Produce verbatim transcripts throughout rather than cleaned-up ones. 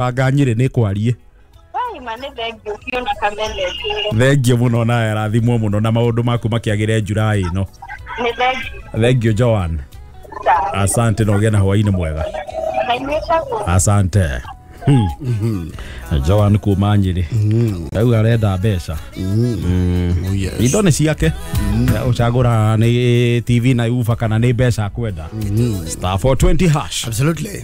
Anga Nyĩrĩ nĩ kwarie. Waima nĩ thengio biũ na kamene. Thengio mũno nawe arathimwo mũno na maũndũ maku makĩagĩre July ĩno. Nĩ thengio. Thengio Joan. Asante na ũgĩe na hwaĩ-inĩ mwega. Na inyuĩ taguo. Asante. Hmm. Joan kuma Nyĩrĩ. Rĩu arenda mbeca. Oh, yes. Indo nĩ ciake. Ũcagũra nĩ T V na ufa kana nĩ mbeca akwenda. Star four twenty hash. Absolutely.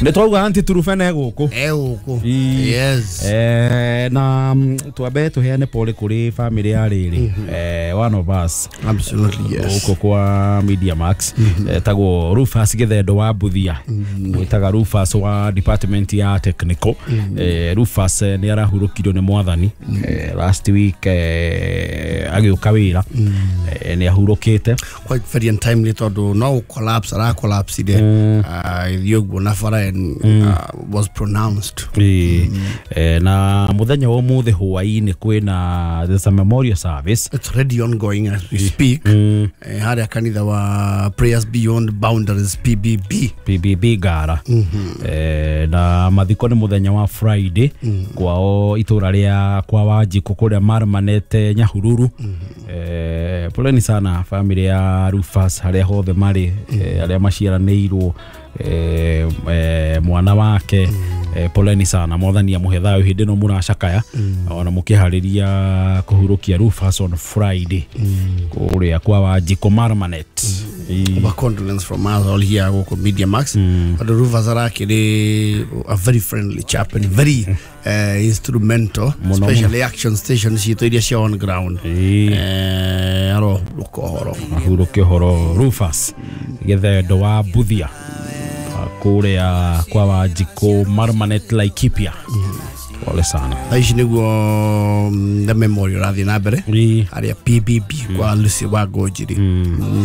Nĩ twauga anti Turubene gũkũ. Eh, gũkũ. Ii. Yes. Eh, na mm, twambe tũheane pole kũrĩ family ya rĩrĩ, eh, one of us Absolutely, yes. gũkũ kwa Media Max, etagwo Rufus Gĩthendo wa Buthia, gwĩtaga Rufus wa department ya technical. eh, Rufus eh, nĩ arahurũkirio nĩ mwathani eh, last week eh, agĩũka wĩra, eh, nĩ ahurũkĩte. Quite very untimely tondũ no collapse ara collapse ire ithiĩ ũguo na bara and uh, was pronounced. Ĩĩ. Eh, na mũthenya wa ũmũthĩ hwaĩ-inĩ kwĩna, there's a memorial service. It's already ongoing as we speak, eh, harĩa kanitha wa Prayers Beyond Boundaries, P B B. P B B Ngara. eh, na mathiko nĩ mũthenya wa Friday kwao itũra rĩa kwa Wanjikũ kũrĩa Marmanete, Nyahururu. eh, poleni sana family ya Rufus harĩa hothe marĩ, eh, arĩa maciaranĩirwo, eh, eh, mwana wake, eh, poleni sana. Mwathani amũhe thayũ hĩndĩ ĩno mũracakaya ona mũkĩharĩria kũhurũkia Rufus on Friday kũrĩa kwa Wanjikũ Marmanet. Ĩĩ. Our condolence from us all here gũkũ Media Max, tondũ Rufus arakĩrĩ a very friendly chap and very uh, instrumental, Mũno. Especially action station citũ iria cia on ground. Ĩĩ. eh, arohurũka ũhoro. Ahurũke ũhoro Rufus Gĩthendo wa Buthia kũrĩa kwa Wanjikũ Marmanet, Laikipia. Pole sana. Thaa ici nĩguo mm, the memorial rathiĩ na mbere Ĩĩ. harĩa P B B kwa Lucy wa Ngũnjiri,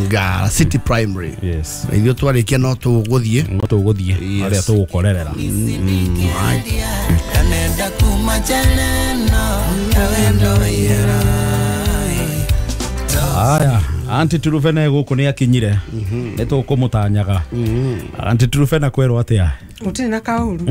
Ngara City Primary. Yes. Na ithuĩ twarĩkia no tũgũthiĩ. No tũgũthiĩ Yes. harĩa tũgũkorerera. Kanenda kuma jaleno tawendo wira. Aya, anti Turufena gũkũ nĩ akinyire, nĩ tũkũmũtanyaga. Anti Turufena, kwerwo atĩa? Gũtirĩ na kaũru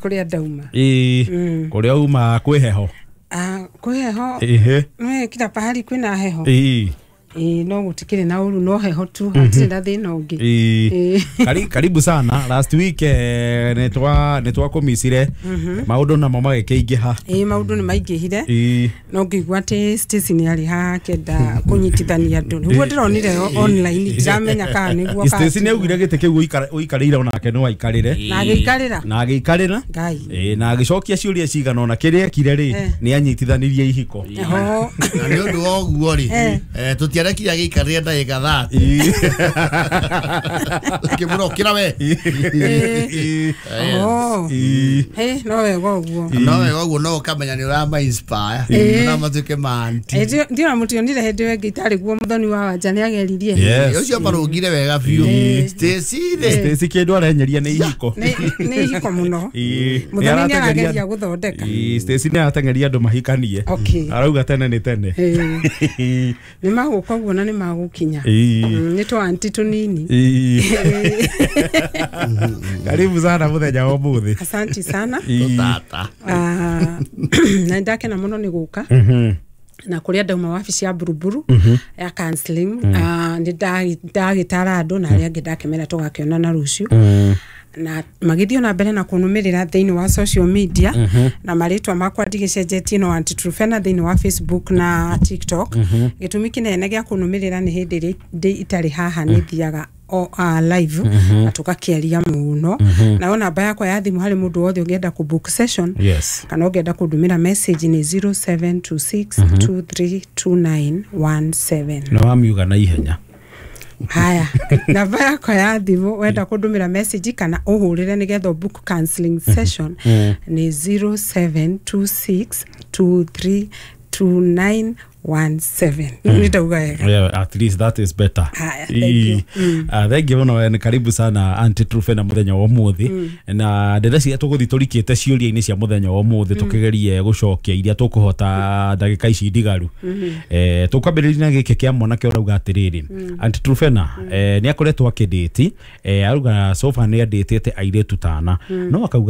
kũrĩa ndauma. Ĩĩ, kũrĩa uma kwĩ heho? Ah, kwĩ heho. Ĩhĩ. Nĩ kila pahali kwĩna heho. Ĩĩ. Ĩĩ, no gũtikĩrĩ na ũru, no heho tu, hatirĩ na thĩna ũngĩ. Ĩĩ. Ĩĩ. Kari, karibu sana. Last week eh, nĩ twa nĩ twakũmicire, maũndũ namo magĩkĩingĩha. Ĩĩ, maũndũ nĩ maingĩhire. Ĩĩ. No ngĩigua atĩ Stacy nĩ arĩ haha akĩenda kũnyitithania andũ, nĩguo ndĩronire online, ndiramenya kana nĩguo kana Stacy nĩ augire gĩtĩ kĩu ũikara- ũikarĩire onake no aikarĩre. Na agĩikarĩra. Na agĩikarĩra. Ngai. Ĩĩ, na agĩcokia ciũria cigana ona kĩrĩa ekire rĩ, Eh. nĩ anyitithanirie ihiko. Ho. Na nĩ ũndũ wa ũguo rĩ, Eh. eh, tũtiarekire agĩikarĩre ndagĩka thate, kĩmũra ũkĩra we. Ĩĩ. Oh. Ĩĩ. Ĩ, no wega ũguo. No wega ũguo, no ũkamenya nĩ ũrama inspire Ĩĩ. na matuĩke manti. Ndiona mũtionire hĩndĩ ĩyo ĩngĩ itarĩ guo, mũthoni wa wanja nĩ ageririe. Yes. Ũcio marũngire wega biũ Stacy rĩ. Stacy kĩndũ arenyeria nĩ ihiko. nĩ nĩ ihiko mũno. Ĩĩ. Mũthoni nĩ Nĩ arageria aratengeria- gũthondeka. Ĩĩ, Stacy nĩ arateng'eria andũ mahikanie. Okay. Arauga tene nĩ tene. Ĩĩ. Nĩ magũka ũguo na nĩ magũkinya. Ĩĩ. Mm, nĩ twa anti tũnini. Ĩĩ. Karibu sana mũthenya wa ũmũthĩ. Asanti sana. Ĩĩ. Tata. Ah, na nĩndakena mũno nĩ gũka Mhm. na kũrĩa ndauma wabici ya Buruburu ya counseling. Ah, nĩ ndagĩtara andũ na arĩa angĩ ndakĩmera tũgakĩonana rũciũ, na magĩthiĩ na mbere na kũnũmĩrĩra thĩinĩ wa social media na marĩtwa makwa ndigĩcenjetie, no Aunty Truphena thĩinĩ wa Facebook na TikTok. Gĩtũmi kĩnene gĩa kũnũmĩrĩra nĩ hĩndĩ ĩrĩa ndĩ itarĩ haha nĩ thiaga o uh, live na tũgakĩaria mũno. Nayo namba yakwa ya thimũ harĩ mũndũ wothe ũngĩenda kũ book session Yes. kana ũngĩenda kũndũmĩra message nĩ zero seven two six two three two nine one seven. Nĩ wamiuga na ihenya. Haya, namba yakwa ya thimũ wenda kũndũmĩra message kana ũhũrĩre nĩgetha book counseling session nĩ zero seven two six two three two nine one seven. Nĩ ndauga wega? Yeah, at least that is better. Haya, thank you. Mm. Uh, thank you muno, nĩ karibu sana, Aunty Truphena, mũthenya wa ũmũthĩ, na ndĩreciria tũgũthiĩ tũrikĩte ciũria-inĩ cia mũthenya wa ũmũthĩ, tũkĩgerie gũcokia iria tũkũhota ndagĩka ici ndigaru. Eh, tũkwambĩrĩria na gĩkĩ kĩa mwanake ũrauga atĩrĩrĩ, Aunty Truphena, eh, nĩ akoretwo akĩndĩti, eh, arauga sofa nĩ andĩtĩte airĩtu tana no akauga